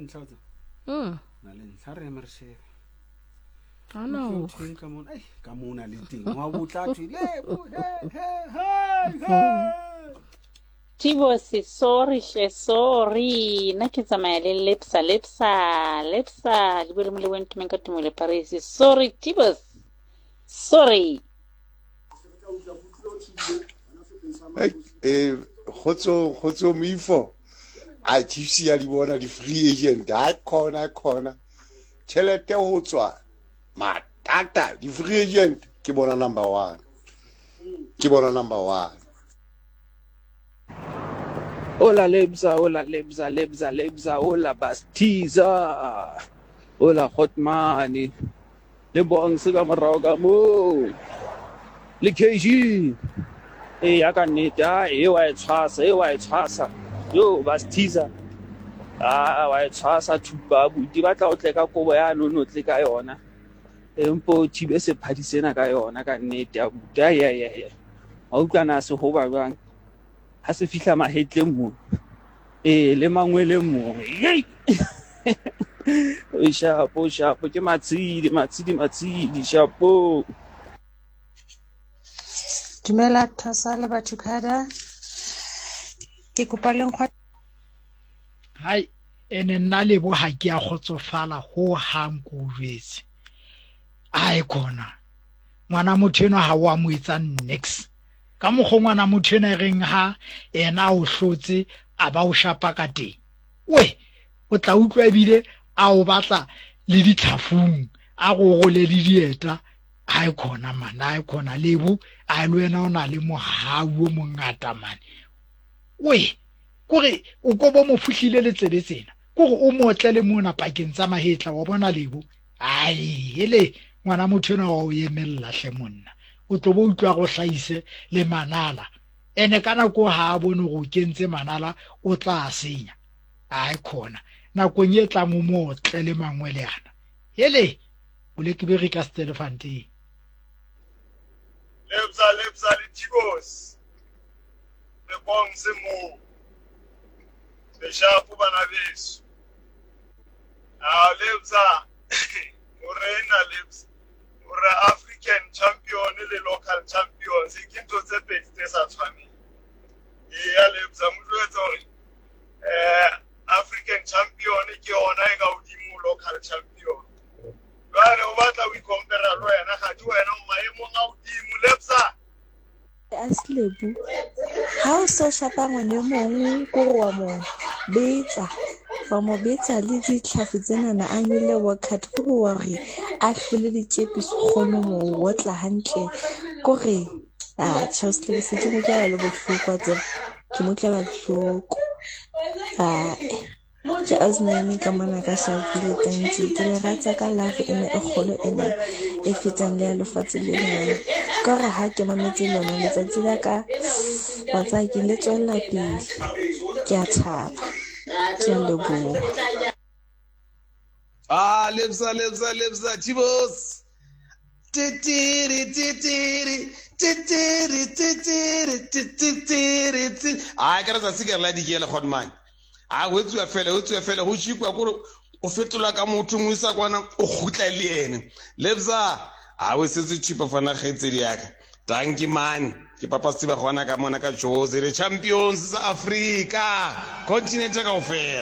ntlha tsa. Na le ntlha re eme re shebe. Ana o. Thweng ka mona, ai ka mona le teng. Wa botla thwe le bo he he he he. Tibose sorry hle sorry nna ke tsamaya le lepsa lepsa lepsa le bue le molebo ntumeng ka tumelo Paris sorry Tibos sorry. Eh, kgotso kgotso moifo a Chiefs ya di bona di-free agent a khona khona tšhelete go tswa matata di-free agent ke bona number one ke bona number one. Hola Lebza, hola Lebza, Lebza, Lebza, hola Bastiza, hola Hotmane, le Bongs ka morago ka moo, le KG. Ee, ya ka nnete, a e wa e tshwasa, e wa e tshwasa. Yo, Bastiza, a wa e tshwasa thupa abuti, ba tla o tle ka kobo ya no tle ka yona. Empa o thibe sephadi sena ka yona ka nnete abuti. Ai ai ai. Wa utlwa na se hoba jwang ha se fihla mahetleng mo. Ee, le mangweleng mo. Yei! O shapo, shapo ke matshidi, matshidi, matshidi, shapo. Dumela Thosa le batho kada. Ke kopa le nkgwa. Hai, ene nna lebo ha ke a kgotsofala ho hang ko o jwetse. Ai khona. Ngwana motho enwa ha o a mo etsa nix. Ka mokgwa ngwana motho enwa e reng ha ena a o hlotse a ba o shapa ka teng. We, o tla utlwa ebile a o batla le ditlhafung, a go role le dieta. Ai khona man, ai khona lebo, ai le wena o na le mohau o mongata man. We, kore o ko bo mo fuhlile le tsebe tsena. Kore o motle le mona pakeng tsa mahetla wa bona lebo. Ai, hele ngwana motho enwa wa o emella hle monna. O tlo bo utlwa go hlahise le manala. Ene ka nako ha a bone gore o kentse manala o tla senya. Ai khona. Nakong e tlang o motle le mangwele ana. Hele, o le ke bere ka Stellfontein. Lebza lebza le Tibos. Le Bongs moo. Le shapo bana beso. Ah Lebza. Morena Lebza. Ore African champion le local champions ke ntho tse pedi tse sa tshwaneng. Eya Lebza mo jwetsa hore eh African champion ke yona e ka hodimo local champion. Jwale o batla o ikompera le wena ga di wena o maemong a hodimo Lebza. Aslebu ha o so shapa ngwana e mong kore wa mo betsa wa mo betsa le ditlhafu tsenana a nyolle workout kore wa re a hlole ditšepiso kgone mo otla hantle kore atjhe Ausi se ke mo utlwela le bohloko wa tseba ke mo utlwela bohloko ae. Ke Ausi ka mona ka Sharpeville thank you. Ke le rata ka love ena e kgolo ena e fetang le ya lefatshe le lena. Ka hore ha ke mametse lona letsatsi la ka wa tseba ke le tswella pele. Ke a thaba. Ke a leboha. Ah, lebza, lebza, lebza, Chibos. Titiri, titiri, titiri, titiri, titiri, titiri. Ah, ke re tsatsi ke re la dikele godman. A go etsuwa fela, go etsuwa fela, go tšhikwa kore o fetola ka motho mo isa kwana o kgutla le ene. Lebza, a o setse tšhipa fana kgaitsedi yaka. Dankie man. Ke papa Setiba gona ka mona ka Jozi, re champions sa Afrika, continent kaofela.